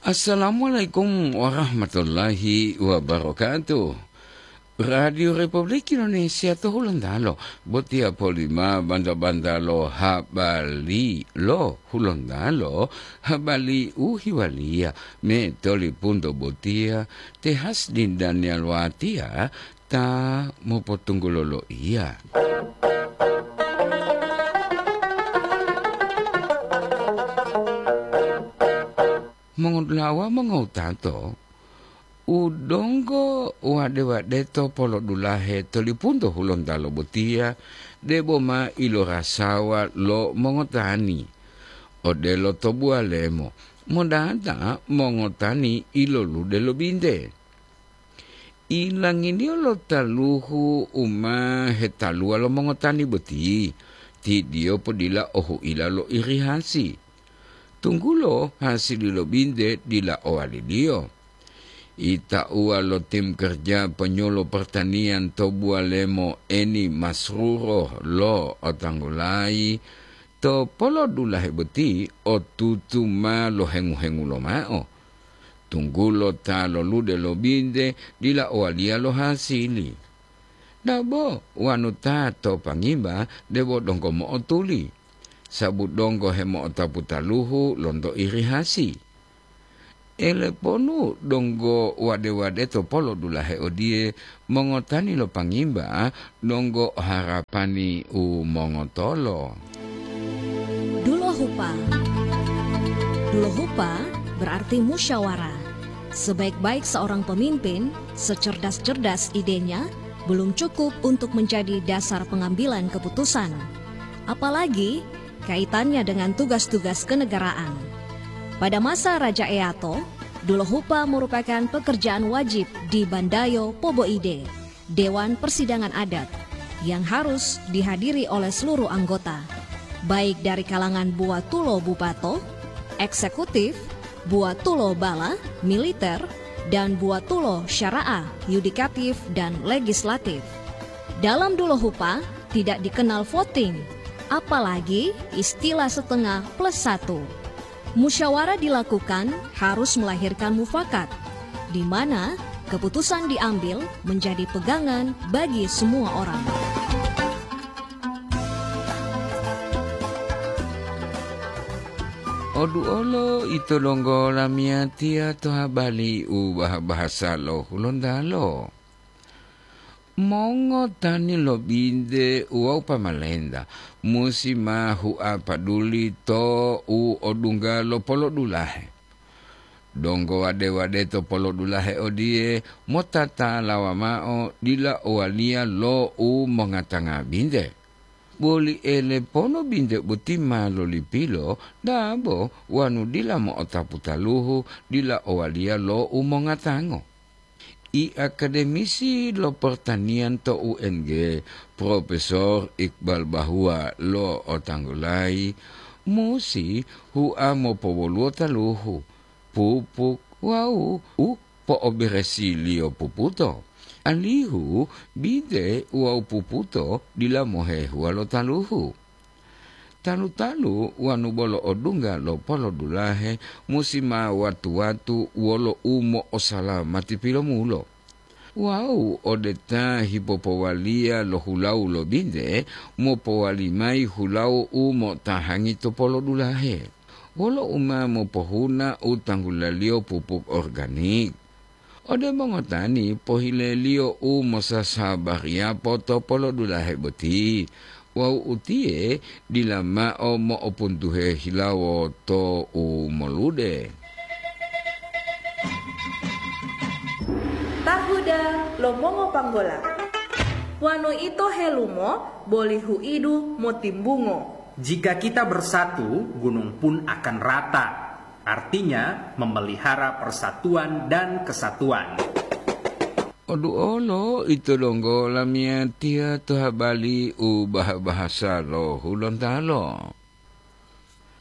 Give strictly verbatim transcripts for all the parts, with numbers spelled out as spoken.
Assalamualaikum warahmatullahi wabarakatuh. Radio Republik Indonesia to Hulontalo, botiya polima banta-banta lo habari lo Hulontalo, habari u hiwaliya me tolipunto botiya te Hasdin Daniel Watiya ta mopotunggulo loiya. Mongolawa mongowutato, u donggo wade-wadeto polodulahe tolipunto Hulontalo botiya, debo ma ilorasawa lo mongotani. Odelo to buwalemo, modata mongotani ilolude lo binte. Ilanginiyo lo taluhu u ma hetaluwa lo mongotani boti, tidiyo podila o huila lo irihasi. Tunggulo hasili lo binte dila owaliliyo. Itauwa lo tim kerja penyuluh pertanian to buwalemo Eni Masruro lo otanggulayi, to polodulahe boti otutu ma lohengu-hengulo mao. Tunggulo ta lolude lo binte dila owaliya lo hasili. Dabo wanu ta to pangimba debo donggo mo'otuli, sabu donggo hemo'otapu taluhu lonto irihasi. Eleponu donggo wade-wade to polodulahe odiye, mongotani lo pangimba donggo harapani u mongotolo. Dulohupa. Dulohupa berarti musyawarah. Sebaik-baik seorang pemimpin, secerdas-cerdas idenya, belum cukup untuk menjadi dasar pengambilan keputusan. Apalagi kaitannya dengan tugas-tugas kenegaraan. Pada masa Raja Eato, Dulohupa merupakan pekerjaan wajib di Bandayo Poboide, Dewan Persidangan Adat, yang harus dihadiri oleh seluruh anggota, baik dari kalangan buwatulo bupato, eksekutif, buwatulo bala, militer, dan buwatulo syara'ah, yudikatif, dan legislatif. Dalam Dulohupa tidak dikenal voting, apalagi istilah setengah plus satu. Musyawarah dilakukan harus melahirkan mufakat, di mana keputusan diambil menjadi pegangan bagi semua orang. Oduolo ito donggo lamiyatiya to habari u bah-bahasa lo Hulontalo. Mongotani lo binte wawu pamalenta musi ma hua paduli to u odungga lo polodulahe. Donggo wade-wade to polodulahe odiye motatalawa mao dila owaliya lo u mongatanga binte. Boli elepono binte boti ma lolipilo dabo wanu dila mo'otapu taluhu dila owaliya lo u mongatango. I akademisi lo pertanian to U N G, Profesor Iqbal Bahua lo otanggulayi, musi hua mopowoluwo taluhu, pupuk wawu u po'oberesiliyo puputo, alihu binte wawu puputo dila mohehuwa lo taluhu. Talu-talu wanu bolo odungga lo polodulahe musi ma watu-watu wolo umo'osalamati pilomulo. Wawu ode ta hipopowaliya lo hulawu lo binte, mopowali mayi hulawu u mo'otahangi to polodulahe, wolo u ma mopohuna u tanggulaliyo pupuk organik. Ode mongotani pohileliyo u mosasabariyapo to polodulahe boti, wawu utiye dila mao mo'opuntuhe hilawo to u molude. Tahuda lo mongopanggola. Wanu ito helumo boli huidu motimbungo. Jika kita bersatu, gunung pun akan rata. Artinya, memelihara persatuan dan kesatuan. Oduolo ito donggo lamiyatiya to habari u bah-bahasa lo Hulontalo.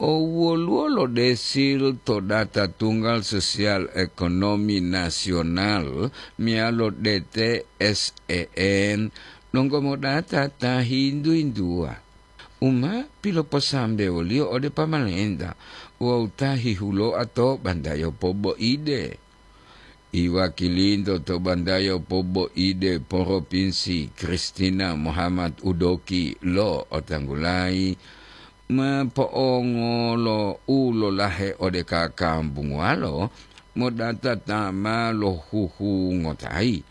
O woluwo lo desil to data tunggal sosial ekonomi nasional meyalo D T S E N donggo modata ta hintu-hintuwa. u ma piloposambewoliyo ode pamalenta wawu ta hihuloa to bantayo poboide. Iwakilinto to bantayo poboide poropinsi Kristina Muhammad Udoki lo otanggulayi ma po'ongolo u lolahe ode kakambunguwalo modata ta ma lohuhungotayi,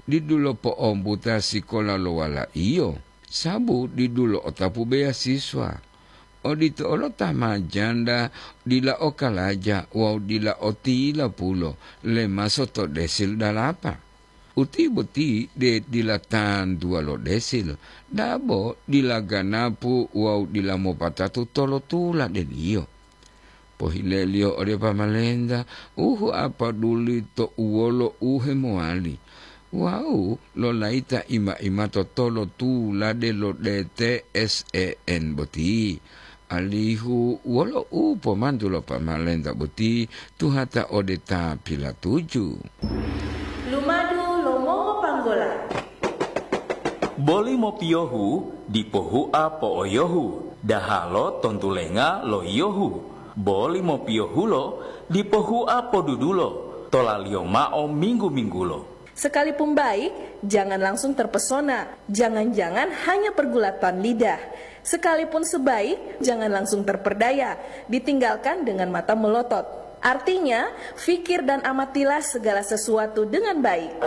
didulo po'ombuta sikola lo walaiyo, sabu didulo otapu beyasiswa. Odito olo ta ma janda dila o kalaja wawu dila o tilapulo lemaso to desil dalapa. Uti boti de dila tantuwa lo desil, dabo dila ganapu wawu dila mopatatu tolotula deliyo. Pohileliyo ode pamalenta u huapaduli to uwolo u hemowali wawu lolayita ima-imato tolotulade lo D T S E N boti, alihu wolo u pomantu lo pamalenta boti tuhata ode ta pilatuju. Lumadu lo mongopanggola. Boli mopiyohu dipo hua po'oyohu, dahalo tontulenga lo yiyohu. Boli mopiyohulo dipo hua podudulo, tolaliyo mao minggu-minggulo. Sekalipun baik, jangan langsung terpesona. Jangan-jangan hanya pergulatan lidah. Sekalipun sebaik, jangan langsung terperdaya. Ditinggalkan dengan mata melotot. Artinya, fikir dan amatilah segala sesuatu dengan baik.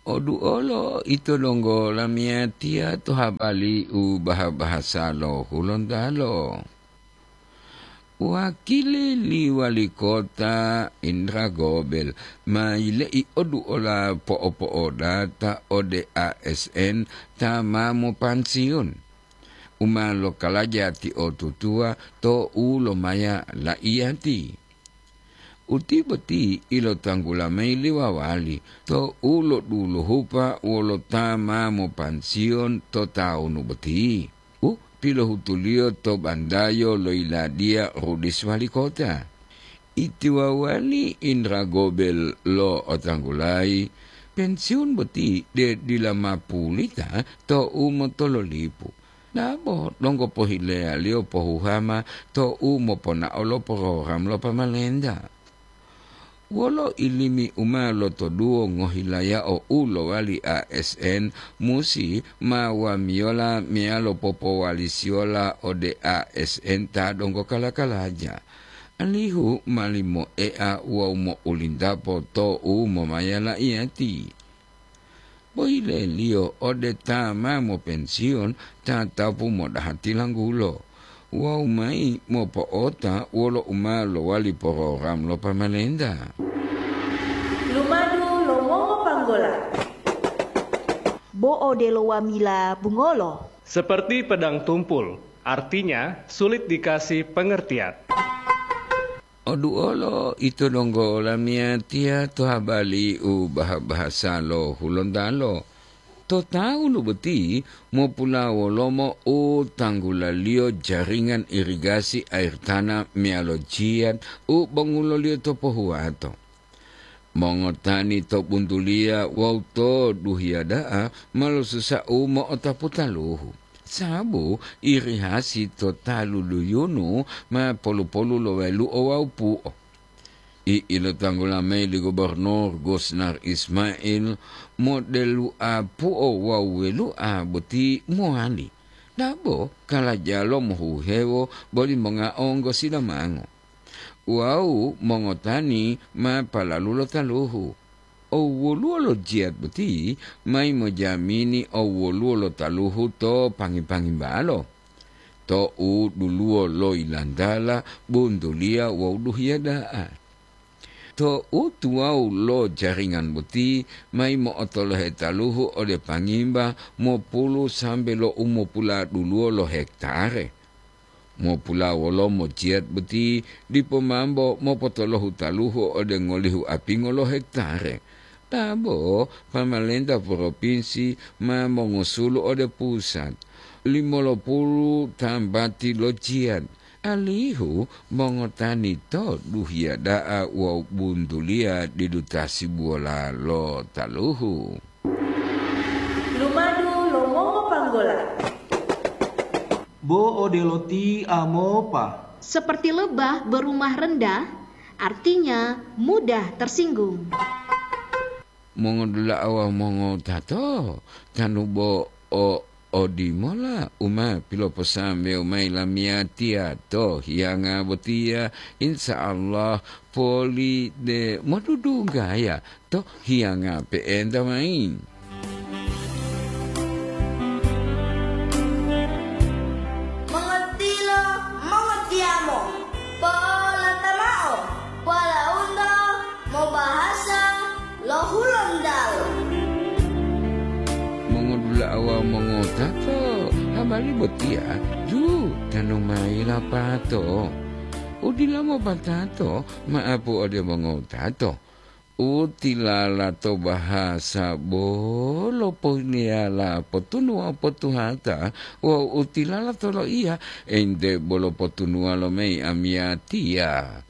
Oduolo ito donggo lamiyatiya to habari u baha-bahasa lo Hulontalo. Wakili li wali kota Indra Gobel ma yile'i oduola po'opo'odata ode A S N ta ma mopansiun, u ma lokalaja tiotutuwa to u lomaya la'iyati. Uti boti ilotanggula mayi li wawali to u loduluhupa wolo ta ma mopansiyon to tawunu boti, u pilohutuliyo to bandayo lo yiladiya Rudis wali kota. Itiwawali Indra Gobel lo otanggulayi, pensiun boti de dila ma pulita to u motololipu. Dabo donggo pohileyaliyo pohuhama to u moponao lo program lo pamalenta. Wolo ilimi u ma lotoduwo ngohilayao u lowali A S N musi ma wamiyola meyalo popowalisiyola ode A S N ta donggo kala-kalaja, alihu ma limoea wawu mo'ulintapo to u momaya la'iyati. Boyileliyo ode ta ma mopensiyon tatapu modaha tilanggulo wawu mayi mopo'ota wolo u ma lowali porogram lo pamalenta. Lumadu lo mongopanggola. Bo odelo wamila bungolo. Seperti pedang tumpul, artinya sulit dikasih pengertian. Oduolo ito donggo lamiyatiya to habari u baha-bahasa lo Hulontalo. To tawunu boti mopulawolomo u tanggulaliyo jaringan irigasi air tanah meyalo jiyat u bonguloliyo to pohuwato. Mongotani to buntuliya wawu to duhiya da'a ma losusa u mo'otapu taluhu, sabu irihasi to talu duyunu ma polu-polu lo welu'o wawu pu'o. I ilotanggula mayi li Gubernur Gusnar Ismail, modelu'a pu'o wawu welu'a boti mowali. Dabo kalajalo mohuhewo boli mongaonggo silamango. Wawu mongotani ma palalu lo taluhu. Owoluwo lo jiyat boti mayi mojamini owoluwo lo taluhu to pangi-pangimbalo, to u duluwo lo yilantala, buntuliya wawu duhiya da'a. To u tuwawu lo jaringan boti mayi mo'otolohe taluhu ode pangimba mopulu sambe lo u mopuladuluwo lo hektare. Mopulawolomo jiyat boti dipo mambo mopotolohu taluhu ode ngolihu apingo lo hektare. Dabo pamalenta propinsi ma mongosulu ode pusat limolopulu tambati lo jiyat, alihu mongotani to duhiya da'a wawu buntuliya didu tasibuwola lo taluhu. Lumadu lo mongopanggola. Bo odelo ti amopa. Seperti lebah berumah rendah, artinya mudah tersinggung. Mongodula'a wawu mongotato, tanu bo o odimola u ma piloposambewo mayi lamiyatiya to hiyanga botiya, insya Allah poli de modudunggaya to hiyanga pe'enta mayi. Mongotilo, mongotiyamo, po'olata mao, walaundo mobahasa lo Hulontalo. Mongodula'a wawu mongotato, habari botiya ju tanu mayi lapato. U dila mopatato, ma'apu ode mongotato. U tilala to bahasa bolo pohiliyala potunuwa potuhata, wawu u tilala to loiya ente bolo potunuwa lo mayi amiyatiya.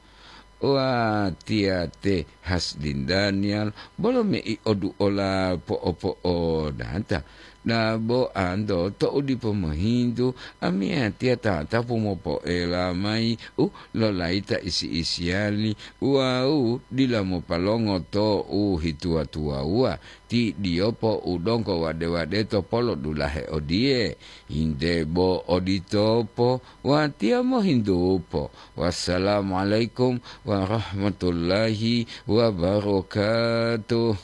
Watiya te Hasdin Daniel bolo mei oduola po'opo'odata. Dabo anto to'u dipo mohintu, amiyatiya tatapu mopoela mayi u lolayita isi-isiyali wawu dila mopalongo to'u hituwa-tuwawuwa ti diyopo u donggo wade-wadeto polodulahe odiye. Inde bo oditopo, watiya mohintupo. Wassalamualaikum warahmatullahi wabarakatuh.